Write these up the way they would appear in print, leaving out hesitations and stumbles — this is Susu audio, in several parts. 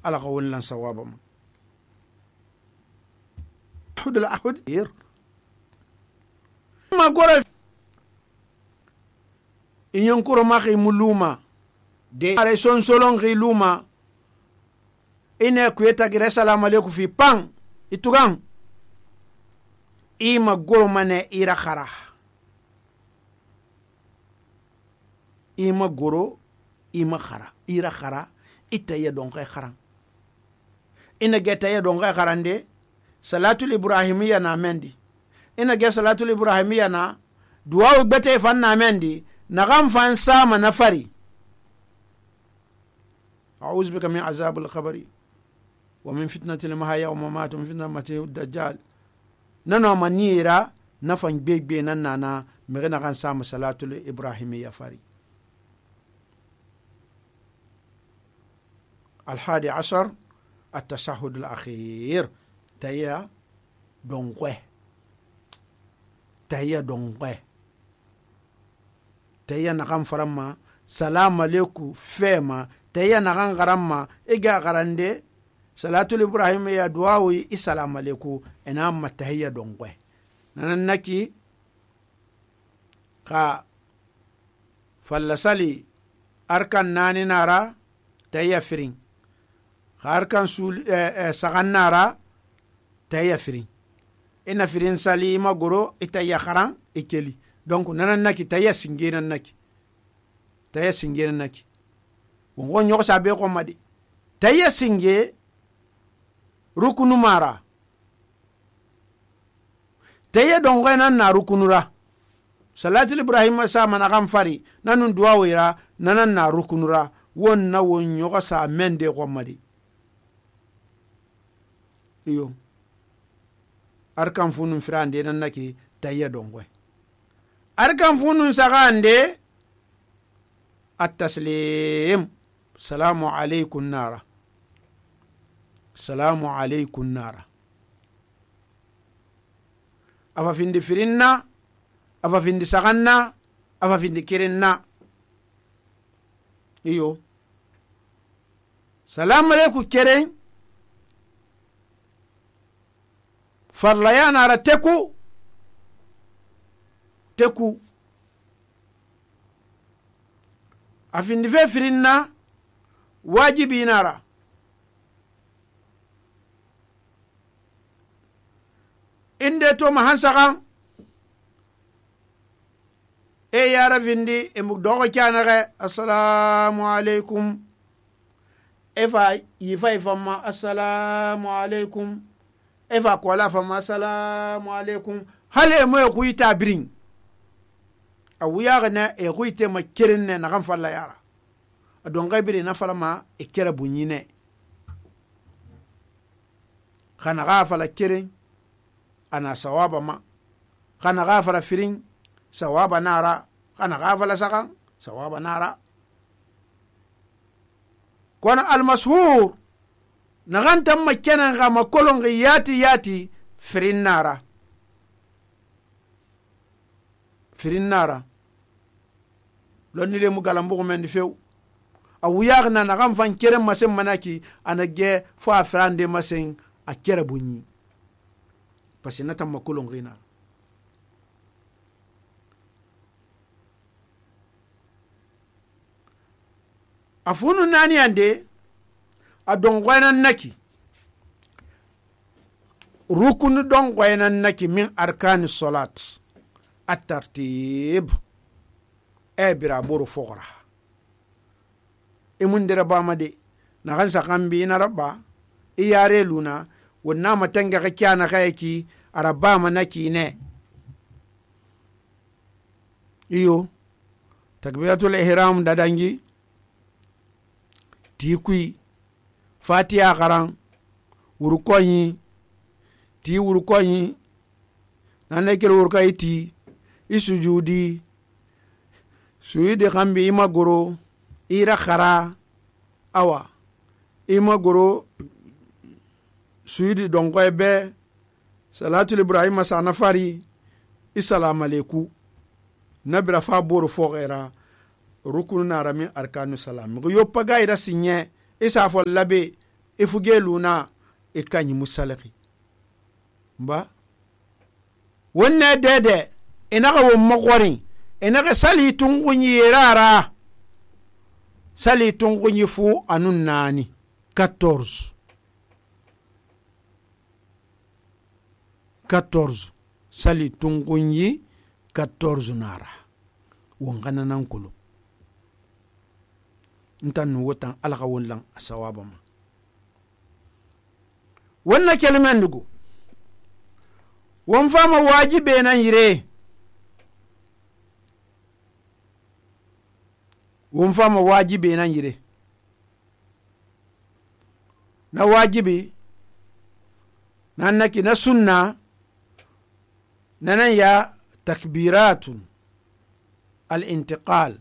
ala ka won lan sawaba ma hudul ahud ma gora inyon kuro ma khi muluma de are son solon khi luma ine kuyeta gire salamu alaikum fi pang itugang ima goro mane ira khara ima goro ima khara ira khara itaya don kay khara ina geta ya don kay kharande salatul ibrahimiyya na mendi ina ge salatul ibrahimiyya na duwa gbete fan na mendi na gam fan sama na fari a'udhu bika min azabil qabri wa min fitnatil mahya wa mamat wa min fitnatil dajjal nano manira na fan gbegbe nan nana me na kan sama salatul ibrahimiyya fari الحادي عشر التشهد الأخير تهيا دونقوه تهيا نقام فرما سلام عليكم فيما تهيا نقام غرما إيجا غرانده صلاة الإبراهيم يا دعاوي السلام عليكم إنما تهيا دونقوه ننكي كا فلسالي أركان ناني نارا تهيا فرين harkan sul sagan nara taya firin ina firin sali magoro itaya kharan ikeli donc nanan naki taya singenan naki wongo nyoko sabe ko madi taya singe rukunu mara taya dongo nan na rukunura salatul ibrahim sa mana kan fari nanun duwa wira nanan na rukunura wonna won nyoko sa mende ko madi iyo arkan funun firande nan nake tayya dongwe arkan funun sagande at-taslim salamu alaykum nara afa findi firinna afa findi saganna afa findi kirinna iyo salamu alaykum keren farlaya nara teku afindi fe firinna wajibi nara inde to mahansakan yara findi emugdogo kyanare assalamu alaikum efa yifa ifama assalamu alaikum efa kola fama assalamu alaikum hale mo ku itabirin awuya na e ku ite ma kirinne na kan falla yara adon gaibiri na falama e kera bunyine kana ga fala kirin ana sawaba ma kana ga fala firin sawaba nara kana ga fala sakan sawaba nara kona almashhur nagantam makkenan ga makolon ga yati firin nara lonni le mu galambu men di few awuya na nagam fan kere masen manaki anage fa frande masen a kere bunyi pasina tam makolon gina afunu nani ande adongwanan naki rukun dongwanan naki min arkani salat at-tartib ebira boru fogra emundira bamade na kan sakambi na rabba iyare luna wonna matanga ka kyana kayaki araba manaki ne iyo takbiratul ihram dadangi tikui fatiha garan wurukoyi ti wurukoyi nanne kero wurukoyi ti isujudi suyidi kambi ima goro ira khara awa ima goro suyidi dongo ebe salatul ibrahim sana fari assalamu alaikum nabira fa boro fogera rukun na rami arkanu salam go yoppa gaira sinye isa fo labe ifuge luna ikanyi musalaki ba wonne dede inaga won magwari inaga sali tungunyi rara sali tungunyi fu anun nani 14 sali tungunyi 14 nara wongana nan kulu ntan nu wotan alaka wonlan asawaba ma wannan kelmen dugo won fama wajibe nan yire won fama wajibe nan yire na wajibi nan naki na sunna nanan ya takbiratun al-intiqal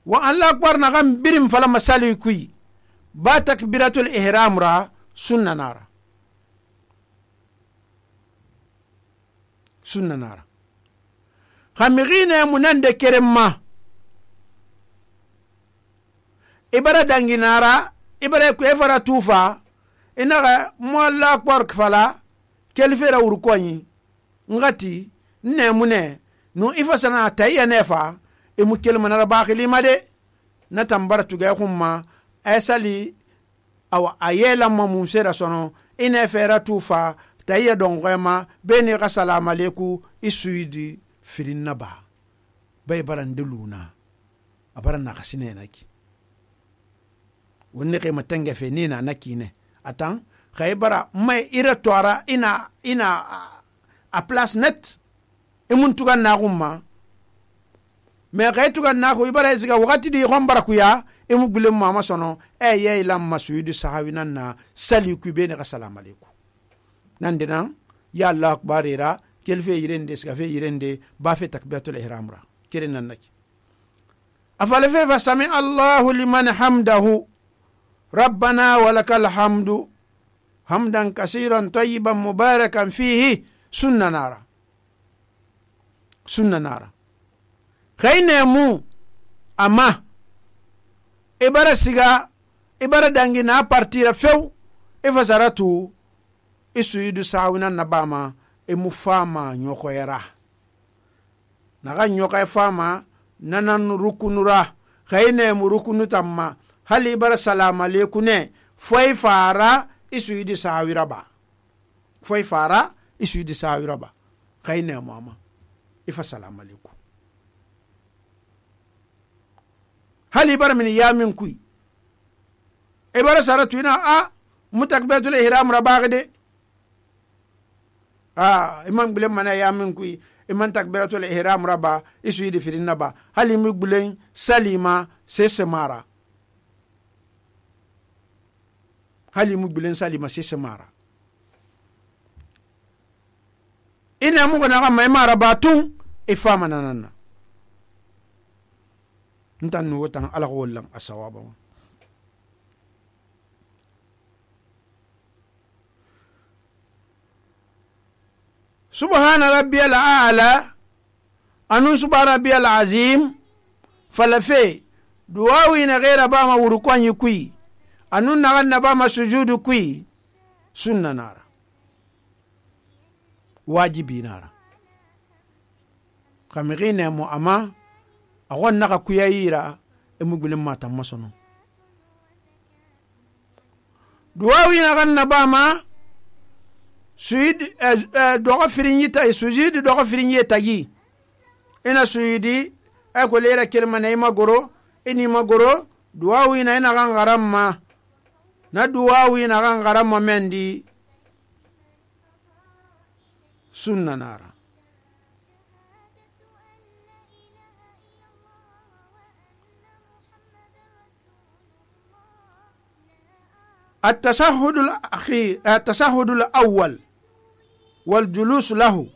wa Allah akbar na gam birim fala masali kui ba takbiratul ihram ra sunna nara khamigine munan de keremma ibara danginara ibara ku efara tufa inaga mo Allah akbar kfala kelfera urkonyi ngati nemune no ifasana tayya nefa imu kelma na bakhili made na tambara tuga khumma asali aw ayela mamu sera sono ine fera tufa tayya dongema beni ga salam aleikum isuidi firinna ba bay baranduluna abaran na kasine naki wonne kay matanga fe nina nakine atan khaybara may ira tora ina a place net imun tugan na gumma me kay tugan na ko ibara ziga wakati di khombara kuya imu gulem mama sono ye lam masudi sahawinan na sali ku bene ka salam aleikum nan dinan ya Allah akbar ira kelfe yirende ska fe yirende ba fe takbiratul ihram ra kiren nan naki afala fe fa sami Allahu liman hamdahu rabbana walakal hamdu hamdan kaseeran tayyiban mubarakan fihi sunna nara khayne mu ama ibara siga ibara dangi na partira few ifasaratu isuidu sawina nabama emufama nyokoyera naga nyoka fama nanan rukunura khayne mu rukunu tamma hali ibara salam aleikum ne foi fara isuidi sawiraba khayne mama ifa salam aleikum hali bar min yamin kui ibara saratu ina mutakbiratul ihram rabagde imam bilen mana yamin kui iman takbiratul ihram raba isuidi firinna ba hali mi bulen salima sesemara ina mu gona mai mara batun ifama nanana ntan nu wotan ala wallan asawaba subhana rabbiyal a'la anun subhana rabbiyal azim falafe duwawi na ghaira ba ma wurukon yikui anun na ganna ba ma sujudu kui sunna nara wajibi nara kamigine mu ama awan naka kuyayira emugulin mata masono duwawi na ganna ba ma sujud doga firinyita sujud doga firinyita gi ina sujudi ko lera kelma nay magoro ini magoro duwawi na ina gangaramma na duwawi na gangaramma mendi sunna nara التشهد الأول والجلوس له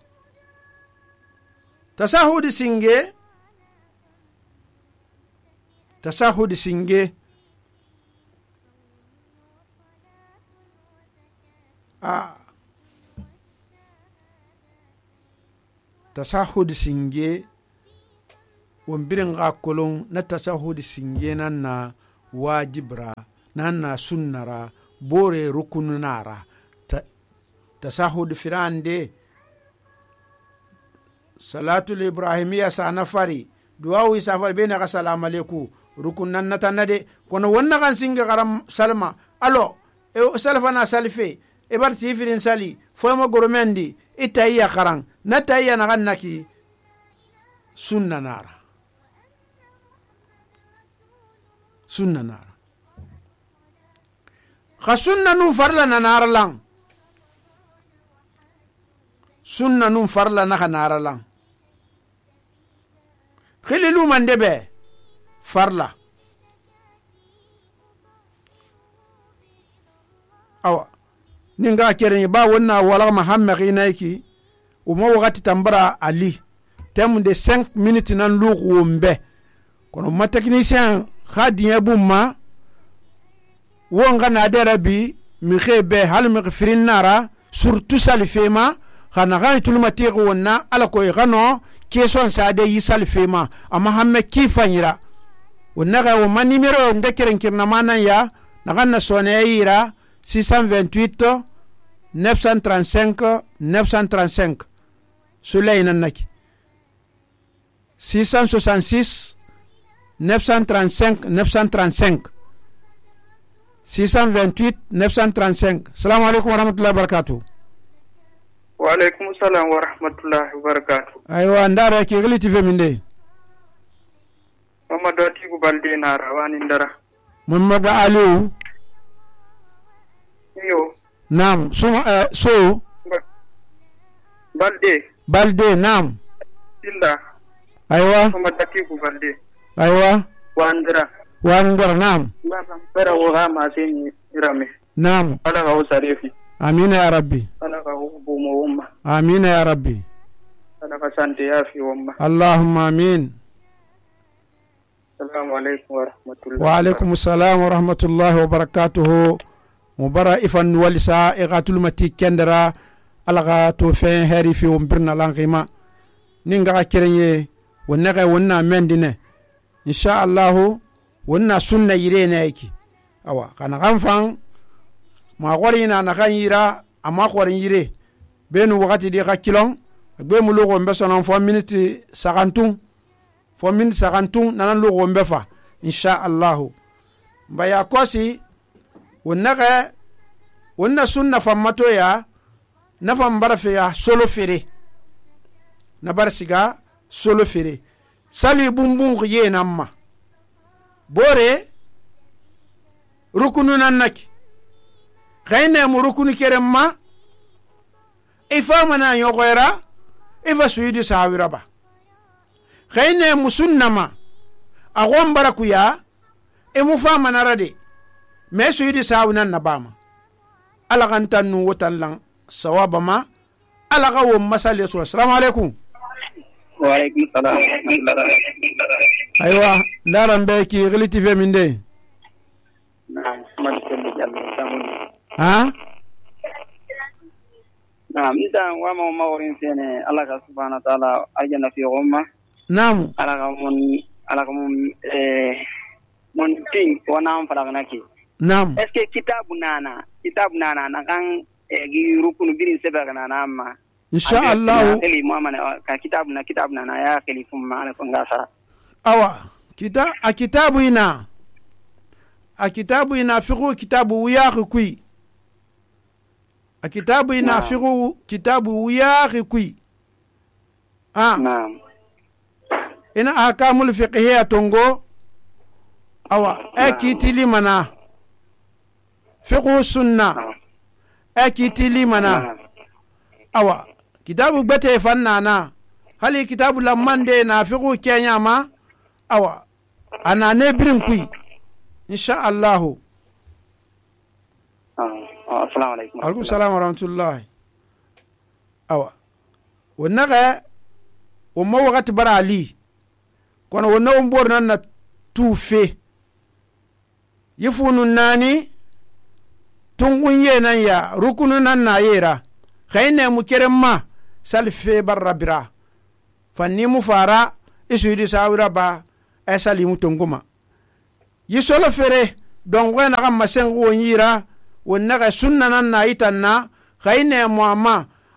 تشهد سنجي تشهد سنجي تشهد سنجي ومبرن غاكولون نتشهد سنجي نانا واجبرا nan na sunnara bore rukunu nara tasahud firande salatul ibrahimiya sana fari duwawi safari bene ga salamu alaikum rukun nan natanade kono wonna kan singa garam salma alo salfa na salfe e bar tifirin sali foyma goromendi itayya karan natayya na gannaki sunna nara kha sunna nun farla na nara lang sunna nun farla na nara lang khililu mandebe farla awa ninga keren ba wonna wala muhammad inaiki uma wakati tambara ali tem de 5 minutes nan lu wombe kono ma technicien khadiya bumma wonga na derabi mi khebe hal mi khfirin nara surtout salifema khana gani tulma tiqo wonna ala ko gano question sa de yisal fema amma hamme kifanyira wonna ga wo man numero nde keren kirna manan ya na ganna sone yira 628 935 935 Suleyna naki 666 935 935 628 935. Assalamu alaikum warahmatullahi wabarakatuh. Wa alaikum salam wa rahmatullahi wa barakatuh. Aywa ndara ke gliti feminde. Muhammad Atiku Balde na rawani ndara. Muhammad Aliu. Yo. Naam, so Balde naam. Illa. Aywa. Muhammad Atiku Balde. Aywa. Wandara naam. Bara wa ma sini irame. Naam. Ala ga usarifi. Amina ya rabbi. Ala ga hubumu umma. Amina ya rabbi. Ala ga sante yafi umma. Allahumma amin. Assalamu alaikum wa rahmatullahi. Wa alaikum assalam wa rahmatullahi wa barakatuh. Mubara ifan walisa igatul mati kendara alaga to fen heri fi umbirna langima ninga kirenye wonnaga wonna mendine insha Allah wonna sunna yirena yake awa kana ganfan ma qorina na kan yira ama qorin yire benu wakati di kakilon be mu logo mbesonon fo minute 50 fo minute 50 nanan logo mbefa insha Allah mbaya kosi wonna sunna fammato ya nafam barafe ya solo fere na barsiga solo fere sali bumbun khiye namma bore rukunu nannaki khayne mu rukunu keremma ifa mana yogoyra ifa suyidi sawira ba khayne mu sunnama agon barakuya e mu fa manarade me suyidi sawunan nabama ala kan tanu wotan lan sawaba ma ala ga wo masale so assalamu alaikum. Wa alaikum salam. Aywa ndaran be ki relati fe minde Naam, man ko Jallo. Ha Naam, idan wa ma maworin sene Allah ka subhanahu wa ta'ala ajana fi umma. Naam. Ala ka mun mon ting wana am fara naki. Naam. Est-ce que kitabu nana na kan gi rukunu birin seba kana amma insha Allah eli muhammad ka kitabu nana ya khalifum ma ala ngasa awa kitabu ina fiqhu kitabu wiyaqi kui kitabu ina fiqhu kitabu wiyaqi kui naam ina ahkamul fiqhiyya tongo awa akitili mana fiqhu sunna akitili mana awa kitabu bete fannana hali kitabu lamande na fiqhu kenya ma awa ana ne birin kui insha Allah. Assalamu alaikum. Alaikum salam wa rahmatullahi. Awa wonaga umma wakati bara ali kono wonna umbor nan na tufe yifunun nani tungun ye nan ya rukunu nan na yera khayne mu keremma salfe barrabira fanni mu fara isu di sawira ba ay salimu tunguma yisolo fere don we na masen won yira won naga sunna nan na itanna khayne muamma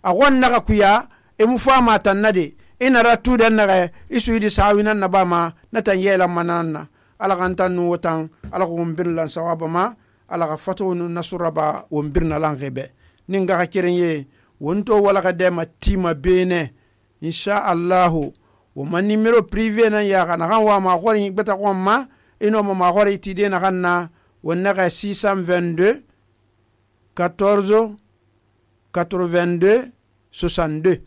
agon naga kuya e mu fama tannade ina ratu den naga isu di sawinan na bama natan yela mananna ala kan tanu wotan ala ko birlan sawaba ma ala ka fatu nasuraba won birna lan gebe ninga ka kirenye wonto wala ka de matima bene insha Allah wo man numero privé nan ya kana kan wa ma khori beta ko ma ino ma khori tide na kanna wonna ka 622 14 82 62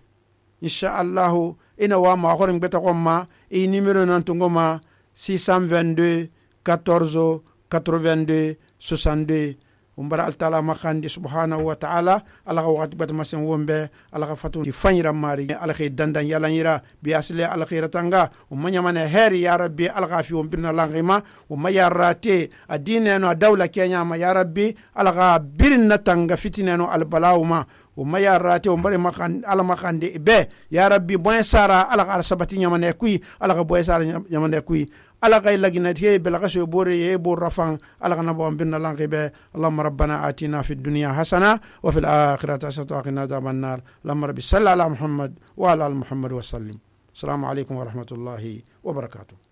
insha Allah ina wa ma khori beta ko ma e numero nan to ngoma 622 14 82 62 umbara altala makhandi subhanahu wa ta'ala ala waqti bat masen wombe ala fatu fanyira mari ala khay dandan yalanira bi asli ala khairatanga umanya mane heri ya rabbi ala fi wombirna langima umaya rate adine no dawla kenya ma ya rabbi ala birna tanga fitineno al balawma umaya rate umbare makhan ala makhandi be ya rabbi boy sara ala sabati nyamane kuy ala boy sara nyamane kuy ala kay laginat he belagaso bore ye bor rafan ala kana bo binna lanqibe allahumma rabbana atina fid dunya hasana wa fil akhirati hasanatan wa qina adhaban nar allahumma rabbi salli ala muhammad wa ala al muhammad wa sallim assalamu alaykum wa rahmatullahi wa barakatuh.